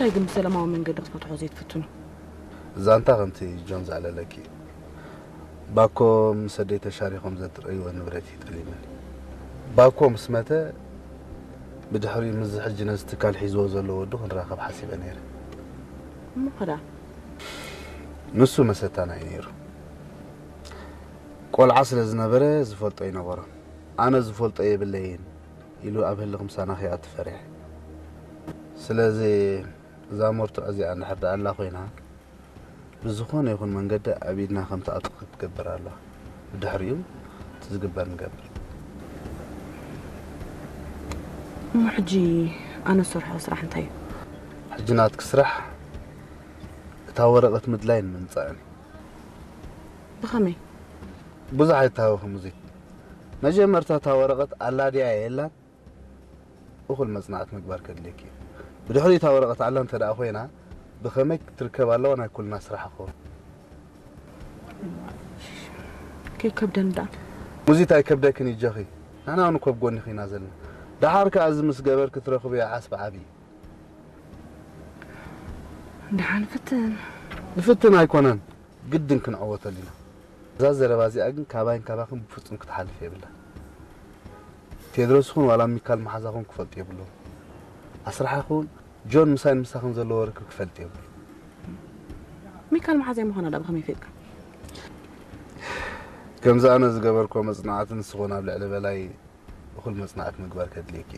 እንታይ ግን ብሰላማዊ መንገዲ ክትፈትሖ ዘይትፍትኑ? ዛንታ ከምቲ ጆን ዘዕለለኪ፣ ባኮ ምስ ኣደይ ተሻሪኾም ዘትረእይዎ ንብረት እዩ ጠሊመኒ። ባኮ ምስ መተ ብድሕሪኡ ምስዚ ሕጂ ነዚ ትካል ሒዝዎ ዘሎ ወዱ ክንራኸብ ሓሲበ ነይረ። እሞ ኸዳ ንሱ መሰታና እዩ ነይሩ። ቆልዓ ስለ ዝነበረ ዝፈልጦ ይነበሮ። ኣነ ዝፈልጦ የብለይን ኢሉ ኣብ ህልኽ ምሳና ከይኣቱ ፈሪሐ። ስለዚ እዛ መርትዖ እዚኣ እንድሕር ደኣ ኣላ ኮይና ብዝኾነ ይኹን መንገዲ ኣብ ኢድና ከም ትኣቱ ክትገብር ኣለዋ። ብድሕሪኡ እቲ ዝግበር ንገብር። እሞ ሕጂ ኣነ ዝሰርሖ ስራሕ እንታይ እዩ? ሕጂ ናትኪ ስራሕ እታ ወረቐት ምድላይን ምምጻእን እዩ። ብኸመይ? ብዙሕ ኣይተሃወኺ ሙዚት። መጀመርታ እታ ወረቐት ኣላ ድያ የላን እኹል መጽናዕቲ ምግባር ከድልየኪ እዩ። ብድሕሪኡ እታ ወረቐት ኣላ እንተ ደኣ ኮይና ብኸመይ ክትርከብ ኣለዋ ናይ ኩልና ስራሕ ክኸውን። ከይከብደኒ ደኣ። ሙዚት ኣይከብደክን ይጆኺ። ንሕና እውን እኮ ኣብ ጎኒኺ ኢና ዘለና። ደሓር ከኣ እዚ ምስ ገበርኪ ትረኽብዮ ዓስቢ ዓቢ እዩ። ደሓን ፍትን። ንፍትን ኣይኮነን፣ ግድን ክንዕወተሉ ኢና። እዛ ዘረባ እዚኣ ግን ካባይን ካባኽን ብፍጹም ክትሓልፍ የብላ። ቴድሮስ ይኹን ዋላ ሚካል መሓዛኹም ክፈልጡ የብሎም። ኣስራሓኹም ጆን ምሳይን ምሳኽን ዘለዎ ርክብ ክፈልጥ የብሉ። ሚካል መሓዛይ ምዃና ዳ ብኸመይ ፈጥካ? ከምዚ ኣነ ዝገበርኮ መጽናዕቲ ንስኹን ኣብ ልዕሊ በላይ እኹል መጽናዕቲ ምግባር ከድልየኪ።